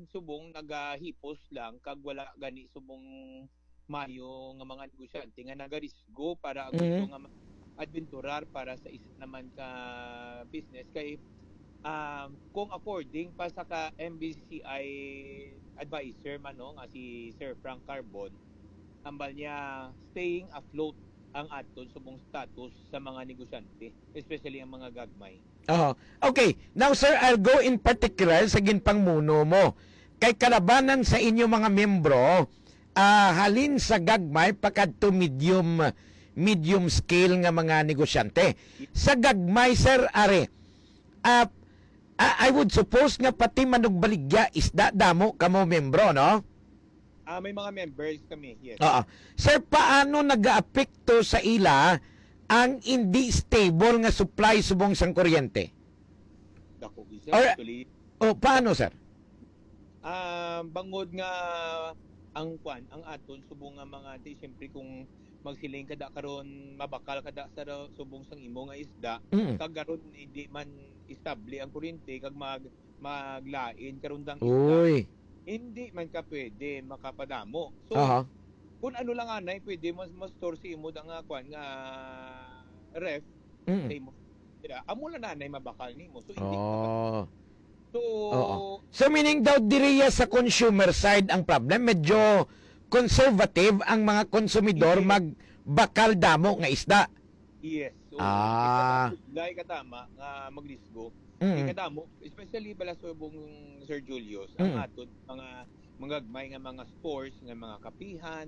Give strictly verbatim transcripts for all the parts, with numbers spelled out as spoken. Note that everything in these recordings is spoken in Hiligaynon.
subong nagahipos lang kag wala gani subong mayo nga mga negosyante nga nagarisgo para ang gusto Mm. nga ma-, adventurar para sa isa naman ka business kay, um, kung according pa sa ka M B C I advisor man, no, nga si Sir Frank Carbon, ambal niya staying afloat ang aton subong status sa mga negosyante, especially ang mga gagmay. Aha. Okay. Now, sir, I'll go in particular sa ginpangmuno mo. Kay kalabanan sa inyo mga miyembro, ah, halin sa gagmay pakadto medium, medium scale nga mga negosyante. Sa gagmay, sir, are, ah, ah, I would suppose nga pati manugbaligya, isda, damo kamo miyembro, no? Ah, may mga members kami, yes. Oo. Sir, paano nagaapekto sa ila ang hindi stable nga supply subong sang kuryente? Dako, sir. Or, actually, oh, paano, sir? Ah, bangod nga ang kwan, ang aton subong nga mga, di, siyempre, kung magsiling ka da karon, mabakal ka da sa ra-, subong sang imo nga isda, Mm. kag karon hindi man estable ang kuryente, kag mag-, maglain karon dang isda, Uy. hindi man ka pwede makapadamo. So, Aha. kung ano lang anay, pwede mas, mas store sa imo da nga kwan nga ref Mm. sa imo. Dira, amo lang anay mabakal nimo. So, hindi ka Oh. So, Oo. So, meaning daw diriya sa consumer side ang problem, medyo conservative ang mga konsumidor Yes. magbakal damo nga isda. Yes. So, Ah. ikadamo, nga maglisgo. Mm. Ikadamo, especially bala subong Sir Julius, ang Mm. aton mga, mga gagmay nga mga stores, nga mga kapihan,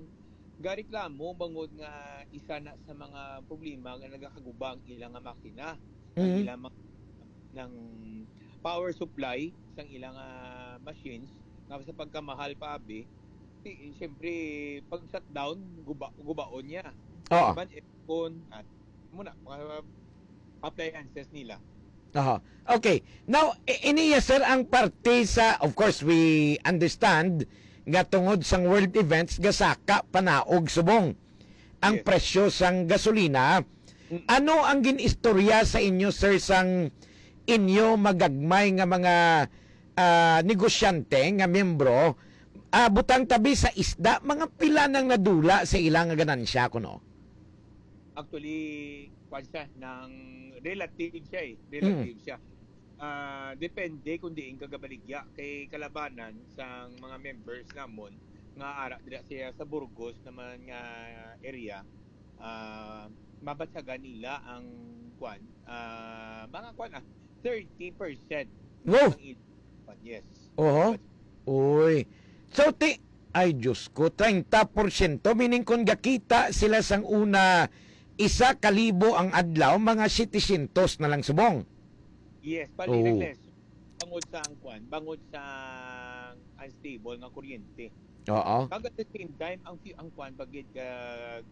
gareklamo bangod nga isa na sa mga problema nga nagakaguba ang ilang nga makina, ang Mm. ilang mga, ng power supply sang ilang, ah, machines, nga sa pagkamahal pa abi, ti-, siyempre, pag shutdown, guba-, gubaon niya. Oo. Man, aircon, at muna, mga appliances nila. Aha. Okay. Now, i-, iniya, sir, ang parte sa, of course, we understand nga tungod sang world events, gasaka panaog subong ang Yes. presyo sang gasolina. Mm. Ano ang gin-istorya sa inyo, sir, sang inyo magagmay nga mga, ah, negosyante nga miyembro? Ah, butang tabi sa isda, mga pila nang nadula sa ila nga ganansya kuno? Actually, kwan siya, nang relative siya eh. Relative Mm. siya. Ah, depende kung diin ka gabaligya. Kay kalabanan sang mga members namon nga ara dira siya sa Burgos naman nga area, ah, mabatyagan nila ang kwan, ah, mga kwan, ah, thirty percent Wow! ang il-, kwan, yes. Oho. Uy. So, ti-, ay, Diyos ko, treinta porsyento, meaning kung gakita sila sang una, isa ka libo ang adlaw, mga setecientos na lang subong. Yes, pali Oo. Nagles. Bangod sa ang kwan, bangod sa ang unstable nga kuryente. Oo. Kag at the same time, ang fu-, ang kwan, bagid ka,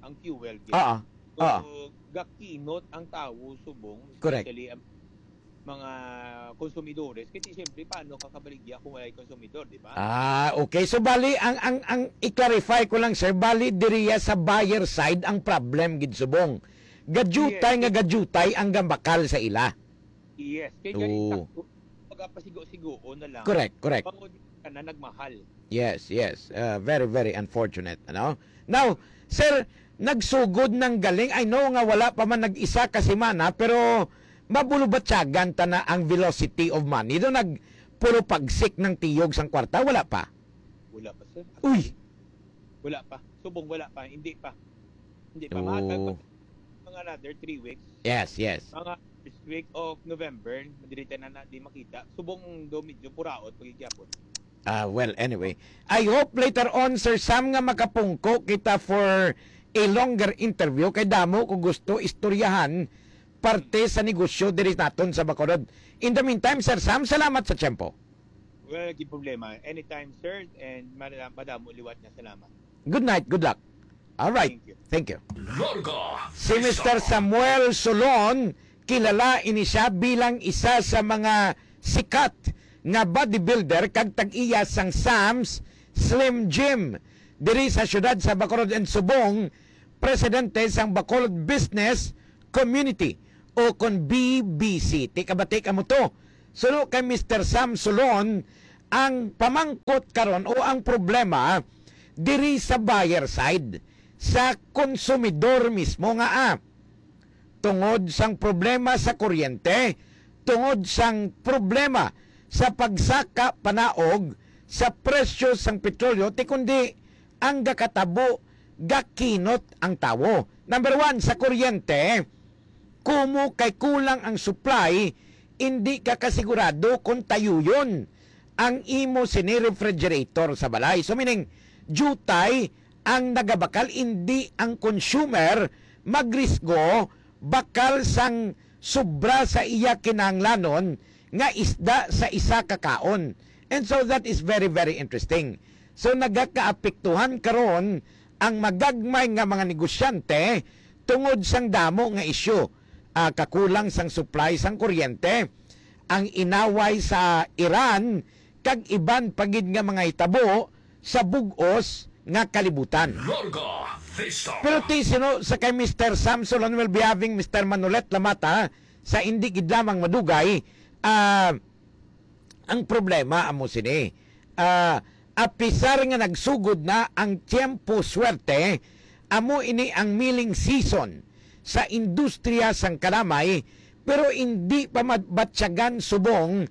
ang fuel, gid. Oo. So, Oo. gakinot ang tawo subong, Correct. especially ang mga konsumidores. Kasi siyempre, paano ka kabaligya kung walay konsumidor, di ba? Ah, okay. So, bali, ang, ang, ang i-clarify ko lang, sir, bali, diriya sa buyer side ang problem, gid subong. Gajutay Yes. nga gajutay ang gambakal sa ila. Yes. Kay gani Oo. sakto, pagpasigo-sigoon na lang. Correct, correct. Bangod ka na nagmahal. Yes, yes. Uh, very, very unfortunate, ano? Now, sir, nagsugod ng galing. I know nga wala pa man nag-isa ka semana, pero mabulubatyagan ta na ang velocity of money. Do nag puro pagsik ng tiyog sang kwarta, wala pa? Wala pa, sir. Uy! Wala pa. Subong wala pa. Hindi pa. Hindi pa. Mga Oo. tag-, mga another three weeks. Yes, yes. Mga first week of November, madirita na na di makita. Subong do medyo puraot pagigyapon. Ah, well, anyway. I hope later on, Sir Sam, nga makapungko kita for a longer interview. Kay damo ko gusto istoryahan parte sa negosyo diri naton sa Bacolod. In the meantime, Sir Sam, salamat sa tiyempo. Well, di problema. Anytime, sir, and madam-, madamo liwat nga salamat. Good night, good luck. All right. Thank you. Thank you. Larga Si Mister Samuel Solon, kilala ini siya bilang isa sa mga sikat nga bodybuilder kag tag-iya sang Sam's Slim Gym diri sa siyudad sa Bacolod and subong presidente sang Bacolod Business Community o kon B B C. Ti kabati kamo to. Suno kay Mister Sam Solon, Ang pamangkot karon o ang problema diri sa buyer side, sa konsumidor mismo nga, ah, tungod sang problema sa kuryente, tungod sang problema sa pagsaka panaog sa presyo sang petrolyo, ti kundi ang gakatabo, gakinot ang tawo. Number one, sa kuryente, kumo kay kulang ang supply, indi ka kasigurado kung tayuyon ang imo sini refrigerator sa balay. So, meaning, jutay ang nagabakal, indi ang consumer magrisgo bakal sang sobra sa iya kinahanglanon nga isda sa isa ka kaon. And so that is very, very interesting. So, nagakaapektuhan karon ang magagmay nga mga negosyante tungod sang damo nga isyu, ah, kakulang sang supply sang kuryente, ang inaway sa Iran, kag iban pa gid nga mga hitabo sa bug-os nga kalibutan. Larga Vista. Pero ti sino sa kay Mister Samson, and we'll be having Mister Manolet Lamata sa indi gid lamang madugay, ah, ang problema amo sini. Ah, apisar nga nagsugod na ang tiyempo swerte, amo ini ang milling season sa industriya sang kalamay, pero indi pa mabatyagan subong